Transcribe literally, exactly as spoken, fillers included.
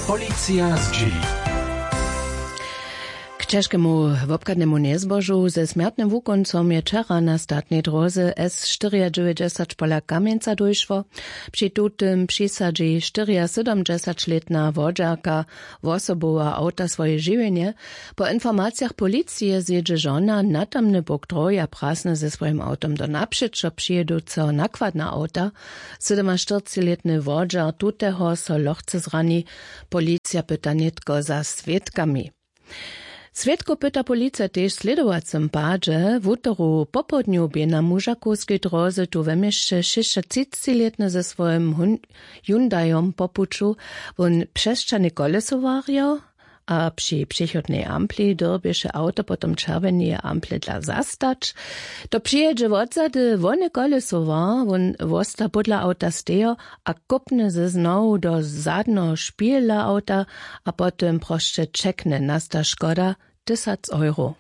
Policija zdźěli. K ćežkemu wobchadnemu njezbožu ze smjertnym wukóncom je wčera na statnej dróze S štyriadźewjećdźesat pola kamjenca dóšło. Při tutym přisadźi štyriasydomdźesaćlětna wodźerka wosoboweho awta swoje žiwjenje. Po informacijach policije zjědźe žona na tamny bok dróhi a prasny ze swojim awtom do napřećo přijěduceho nakładna awta. Sydomaštyrcećilětny wodźer tuteho so lochce zrani. Policija pyta nětko za swědkami. Swědkow pyta policija tež w slědowacym padźe. Wutoru popołdnju bě na mužakowskej dróze tu we měsće šěsćatřicilětny ze swojim Hun- hyundaiom po puću. Wón přesćahny kolesowarjo a při přechodnej ampli dyrbješe awto potom čerwjeneje ample dla zastać. To přijědźe wotzady wone kolesowar, wón wosta pódla awta stejo a kópny ze znowu do zadneho špihela awta a potom prosće ćekny. Nasta škoda tysac euro.